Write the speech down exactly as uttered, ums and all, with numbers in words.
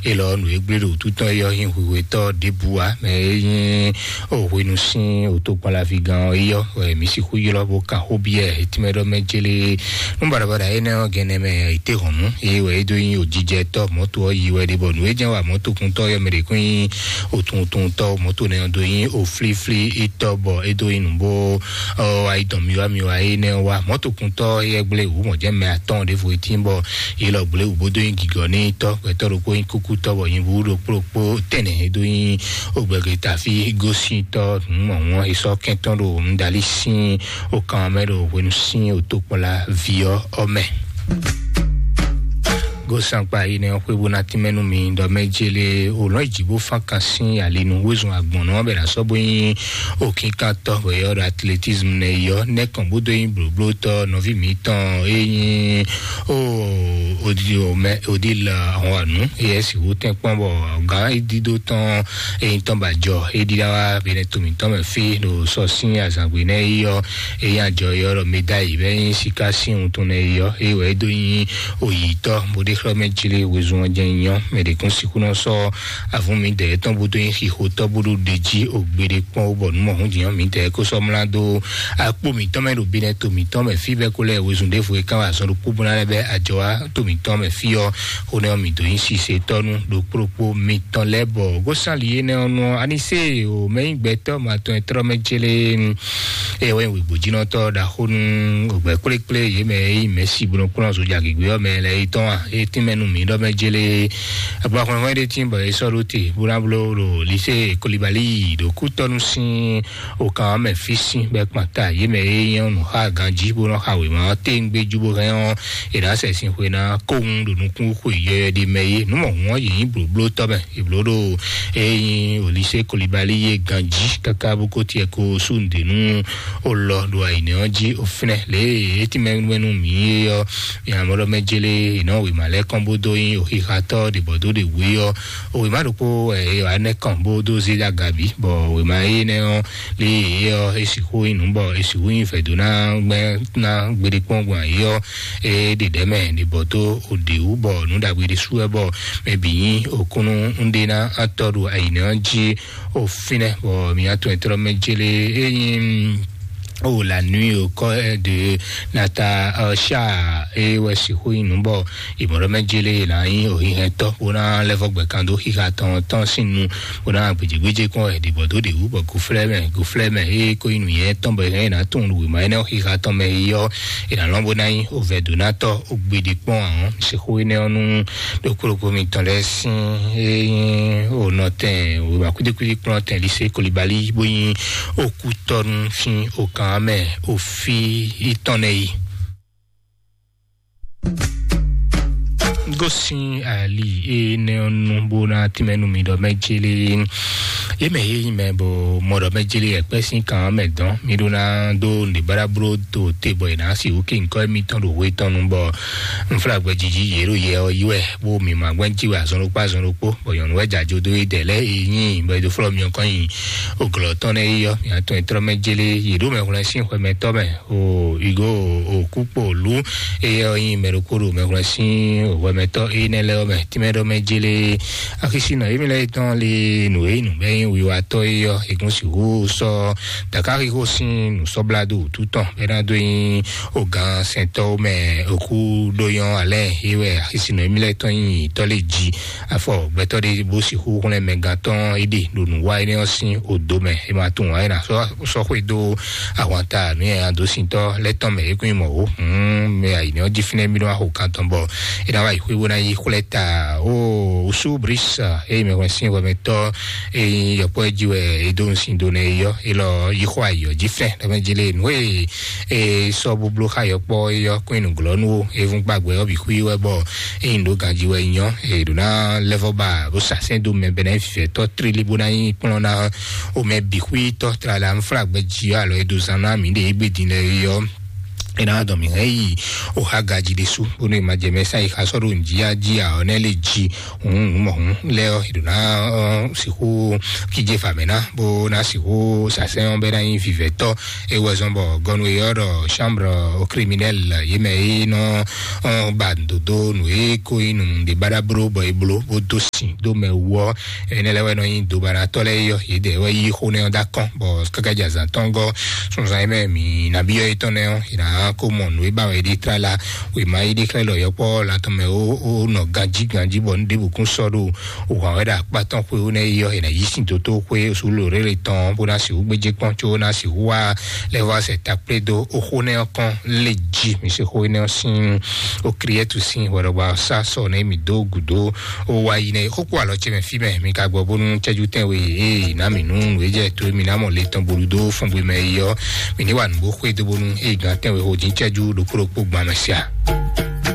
Elɔ nǔ e gblé ɖo wútu tɔn é yɔ nyí hwihwetɔ́ ɖěbǔ ǎ, mɛ e nyí o hwenu sín o tokpɔnlaví gán ɔ́ é yɔ, wɛ mǐ sixú ylɔ́ bó kan xó byɔ́ ɛ. Etí mɛ ɖɔ mɛ jélé nú baɖabaɖa énɛ́ ɔ́ gɛnɛ mɛ, ìtehɔ̌nnu é wɛ é dó nyí òjijɛtɔ́ mɔ̌to ɔ́ yi wɛ ɖe, bɔ nǔ e jɛ́n wa mɔ̌tokuntɔ́ ɔ́ yɔ mɛ ɖě kún nyí òtuntunutɔ́ mɔ̌to nɛ́ ɔ́ dó nyí òflíflí itɔ́, bɔ é dó nyí nǔ bó ɔ ayi dɔn miwa miwa énɛ́ ɔ́ wá. Mɔ̌tokuntɔ́ éyɛ́ gblé wǔ mɔ̌ jɛ́n mɛ atɔ́ɔ́n ɖěvo e tín bɔ yě lɔ gblé wǔ bó dó nyí gigɔ n'i tɔ́. Gbɛtɔ́ ɖokpó nyí kúkútɔ́ bɔ nyibú ɖokpó ɖokpó tɛnɛ e dó nyí ogbɛgbe tafi gosíntɔ́ nǔmɔ̀wɔ́n e sɔ́ kɛntɔ́ ɖo nǔdalí sín okan mɛ ɖo hwenu sín otokpɔ́la ví ɔ́ ɔ́ mɛ. Gosankpa yi nɛ xwé bó ná tínmɛ nú mi ɖɔ mɛ jélé o lɔn jǐ bó fán kan sín ali nú wezun agbɔ̌n nɔ bɛ ná sɔ́ bó nyí òkínkantɔ́ bɔ yɔ ɖo atletisme nɛ yɔ nɛkàn bó dó nyí blóblótɔ́ nɔví mǐtɔn é nyí o odi o mɛ odi la ahɔn anu eyɛ si wú tɛn kpɔn bɔ gán é dídó tɔn é nyí tɔn ba jɔ é ɖíɖá wá bɛnɛ to mǐtɔn mɛ fí ɖo sɔ sín azǎngbe nɛ é yɔ é nyí ajɔ yɔ ɖɔ médaille bɛ nyí sika sín wuntun nɛ é yɔ é wɛ é dó nyí oyǐtɔ́ bó ɖé xlɔ́ mɛ jí lé wezun ɔ́ jɛ nyɔ mɛ ɖě kún sixú nɔ sɔ́ avún mi dɛ̌ tɔn bó dó nyí xixotɔ́ bó ɖó ɖe jí ògbéɖé kpɔ́n ó bɔ nǔ mɔ̌hun jǐ nyɔ mi dɛ̌ kó sɔ́ mlá dó akpó mǐtɔn mɛ ɖo binɛ to mǐtɔn mɛ fí bɛ́ kó lɛ́ wezun ɖěvo e kán wá azɔn ɖokpó bó ná lɛ́ bɛ́ ajɔ wá to mǐtɔn mɛ fí ɔ́. Xó nɛ́ ɔ́ mǐ dó nyí sisetɔ́nú ɖokpó ɖokpó mitɔn lɛ́ɛ bɔ gósánli énɛ́ ɔ́ nú ɔ́, anisée o mɛ nyí gbɛtɔ́ ma tɔn e tlɔ́ mɛ célé. Eye wɛ nyí wěgbójínɔtɔ́ ɖaxó nú ògbɛ kplékplé yě mɛ e nyí mɛ̌si bó nɔ kplɔ́n zojagěgbé ɔ́ mɛ lɛ́ɛ é tɔn a? É tínmɛ nú mǐ ɖɔ mɛ jélé. Agba hwɛhwɛ́n ɖé tín bɔ é sɔ́ ɖó te bó ná bló ɖo lisée Kolibali ɖo kútɔ́nú sín okan ɔ́ mɛ fí sín bɔ é kpan ta yě mɛ e nyí nǔ xá ganjí bó nɔ xa wěma ɔ́ téŋgbé jú bó hɛn ɔ́, è nǎ sɛ sin xwe ná kóhun ɖo nukún xwe yɔyɔ ɖé mɛ é. Nǔ mɔ̌hun ɔ́ yě nyí blǒblótɔ́ mɛ, è blǒ ɖo e nyí olise Kolibali yé ganjí káká bó kó tiɛ ko sú nǔɖé nú olɔ ɖo ayǐnɛ ɔ́ jí ofínɛ lě e é tínmɛ nú mǐ é ɔ́. Mǐ amɔ̌ ɖɔ mɛ jélé è nɔ wěma lɛ́ɛ kɔn bó dó nyí oxixatɔ́ ɖě bɔ dó ɖě wú é ɔ́. Wěma ɖokpó ɛ wǎ nɛ́ kɔn bó dó zé dó agabǐ bɔ wěma énɛ́ ɔ́ lé yě ɔ́ é sixú nyí nǔ bɔ é sixú nyí vɛ̌ dó ná gbɛ́ ná gbeɖé kpɔ́n gbɔn ayǐ ɔ́. É ɖe ɖɛ̌ mɛ ɖě bɔ dó òɖě wú bɔ nǔ ɖagbe ɖé sú wɛ bɔ mɛ bǐ nyí òkúnnú ńɖé ná tɔ́ ɖo ayǐnɛ ɔ́ jí. Ofínɛ bɔ mǐ atɔn e tlɔ́ mɛ jélé é nyí o la nuit au corps de Natacha é wɛ sixú nyí nǔ bɔ ìmọ̀lọ́mɛ jélé là ń yín òhìhɛn tɔ́ bó ná lɛ́ vɔ́ gbɛ̀kan dó xixa tɔn tɔn sín nu bó ná gbèjégbèjé kún ẹ̀ dìbò dó dìwú bɔ gòflɛ́ mɛ gòflɛ́ mɛ é kó nyí nǔnyɛ tɔn bɔ ìhɛn ná tún nǔ wěma énɛ́ xixa tɔn mɛ é yɔ. È nǎ lɔn bó ná nyí ovɛdonátɔ ogbede kpɔn àwọn sixú énɛ́ ɔ́ nú ɖokpóɖokpó mitɔn lɛ́ɛ sín é nyí onɔtɛn wěma kúdíkúdí kplɔ́n tɛn lise Kolibali bó nyí okútɔ́nú sín okàn mɛ òfí tɔn nɛ yi. Gosin ali énɛ́ ɔ́ nú bó ná tínmɛ nú mi ɖɔ mɛ jélé yé mɛ yé nyi mɛ bɔ mɔ ɖɔ mɛ jélé ɛkpɛ sín kan mɛ dɔn mi ɖó ná dó nɖe báɖá bló to te bɔ è nǎ si wú kí ŋkɔ émítɔn ɖo hwe tɔn nu bɔ nflágbɛ jiji yě ɖo yɛ ɔ́ yí wɛ bó mi ma gbɛ́ jí wɛ azɔn ɖokpó azɔn ɖokpó bɔ nyɔ̌nu wɛ jǎ jó dó é dɛ lɛ́ é nyí bɔ é dó flɔ́ mi ɔ́ kɔn nyi òglɔ́ tɔn nɛ́ é yɔ mi atɔn e tlɔ́ mɛ jélé yě ɖó mɛ hwlɛ́n sín xwɛ mɛ tɔ́ mɛ o igo òkúkpolu eye ɔ́ nyi mɛ ɖokpó ɖo mɛ hwlɛ́n sín hwɛmɛtɔ́ énɛ́ lɛ́ɛ ɔ́ mɛ tínmɛ ɖɔ mɛ jélé. Akísínɔ émí lɛ́ɛ tɔn le nǔ e nǔ bɛ́ nyí wiwatɔ́ é yɔ ègún sixú sɔ́ dakaxixo sín nǔsɔ́blado wútu tɔn bɛ́ ná dó nyí ogán sɛntɔ́ mɛ òkú ɖó nyɔ́ alɛ é wɛ akísínɔ émí lɛ́ɛ tɔn nyi tɔ́ lé jí afɔ gbɛtɔ́ ɖé bó sixú xlɛ́n mɛ gán tɔn é ɖe ɖo nǔ wa énɛ́ ɔ́ sín odo mɛ é ma tunwun ǎ é ná sɔ́ sɔ́ xwedó ahwanta nú yɛ adósintɔ́ lɛ́ tɔn mɛ é kún nyí mɔ̌ ó. Mɛ ayǐ ní ɔ́ jí fínɛ́ mí nɔ wá xo kan tɔn bɔ é ná wá yi xwé bó ná yí xwlɛ́ ta ó. Usú bris eye mɛ hwɛn sín hwɛmɛtɔ́ eye yɔkpɔ́ jí wɛ é dó nsin dó nɛ é yɔ é lɔ yí xɔ ayǐ ɔ́ jí fɛn lɛmɛ jí lé nǔ e é sɔ́ búbló xá yɔkpɔ́ é yɔ kún nyi nǔglɔ́nú ó é vún gbàgbé ɔ́ bǐ xwí wɛ bɔ é nyi ɖó ganjí wɛ nyɔ é ɖó ná lɛ́vɔ́ ba bó sa sɛn dó mɛ bɛnɛ vivɛtɔ́ tlílí bó ná nyí kplɔ́n ná o mɛ bǐ xwítɔ́ tlala nflágbɛ jí alo e ɖo zan ná mǐ ɖe égbé din lɛ é yɔ. Ena dɔn mi hɛn yi o ha gaji ɖe su bónú e ma jɛ mɛ sa yi xa sɔ́ ɖo nǔ jí ají a ɔ́ nɛ lé jí hǔn hǔn mɔ hǔn lɛ ɔ́, e ɖo ná sixú kíje fà mɛ ná bó ná sixú sasɛn ɔ́ bɛ ná nyí vivɛtɔ́. E wɛ zɔn bɔ gɔnu e ɔ́ ɖɔ chambre au criminel yé mɛ e nɔ ba dodo nǔ e ko nyí nǔ ɖe baɖa bló bɔ e bló bó dó sin dó mɛ wú ɔ́, enɛ lɛ wɛ nɔ nyí dobanatɔ́ lɛ yɔ yě dɛ wɛ yí xó nɛ ɔ́ dá kɔn bɔ káká jɛ azǎn tɔn gɔ́ sunzan yé mɛ mi nabí ɔ́ yétɔn nɛ ɔ́, yě ná kó mɔ nǔ e ba wɛ ɖi tlala wěma yé ɖi xlɛ́ lɔ yɔkpɔ́ la tɔn mɛ ó nɔ ganjí ganjí bɔ nu ɖěbǔ kún sɔ́ ɖo wǎn wɛ ɖo akpá tɔn xwé ó nɛ yɔ yě ná yí sin dótó xwé sùúrù rélé tɔn bó ná sixú gbéjé kpɔ́n có ná sixú wá lɛ́ vɔ sɛ takplé dó ó xó nɛ ɔ́ kɔn lé jí mi se xó énɛ́ ɔ́ sín ó kriɛ́tu sín hwɛɖɔgba sá sɔ nɛ mi dó gǔdó ó wá yi nɛ xókó alɔ ce mɛ fí mɛ mi ka gbɔ bónú cɛ́jú tɛn we ee ná mi nú nǔ e jɛ tó mi ná mɔ le tɔn bolu dó fɔngbé mɛ yi ɔ́ mi ní wà nǔgbó xwé dó bónú ee gán tɛn we xó dín cɛ́jú ɖokpó ɖokpó gbán mɛ sia.